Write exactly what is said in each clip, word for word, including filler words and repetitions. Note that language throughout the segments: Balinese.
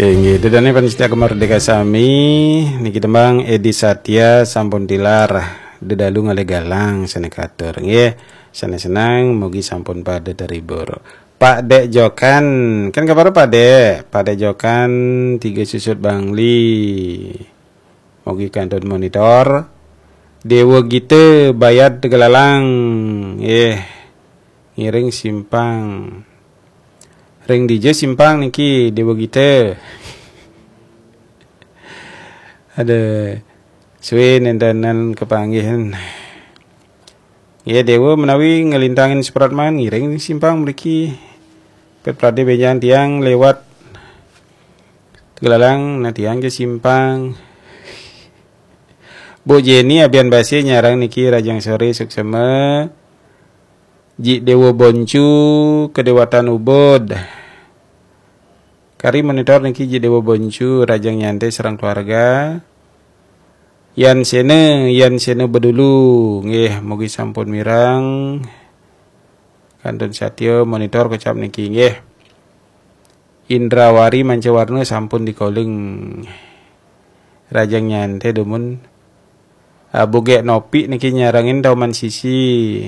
Inggih, ida dané pamiarsa Gema Merdeka sami, niki tembang Edi Satya sampun tilar, Dedalu Ngalih Galang sané katur. Nggih, sané seneng mugi sampun pada terhibur. Pak Dék Jokan, kan kabar Pak Dék? Pak Dék Jokan, Tiga Susut Bangli. Mugi kantun monitor. Déwa Gita Bayad Tegalalang. Nggih. Ngiring simpang. Ring dija simpang niki Déwa Gita? Ada suwe nénten kapanggihan. Nggih, Déwa menawi nglintangin Supratman ngiring simpang mriki. Pet pradé bénjang tiang lewat Tegalalang, nah tiang ke simpang. Bu Jenny Abian Basi nyarang niki, rahajeng soré suksma. Ji Déwa Boncu, Kedéwatan Ubud. Kari monitor niki Ji Déwa Boncu, rahajeng nyantai sareng keluarga. Yan Séna, Yan Séna Bedulu, nggih, mugi sampun mireng. Kantun satya monitor kocap niki, nggih. Indrawari Mancawarna sampun di calling. Rahajeng nyantai dumun. Ah, Bu Gék Nopi niki nyarengin Taman Sisi.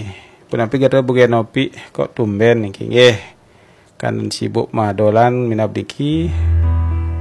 Punapi gatra Bu Gék Nopi, kok tumben niki, nggih. Kantun sibuk madolan minab niki.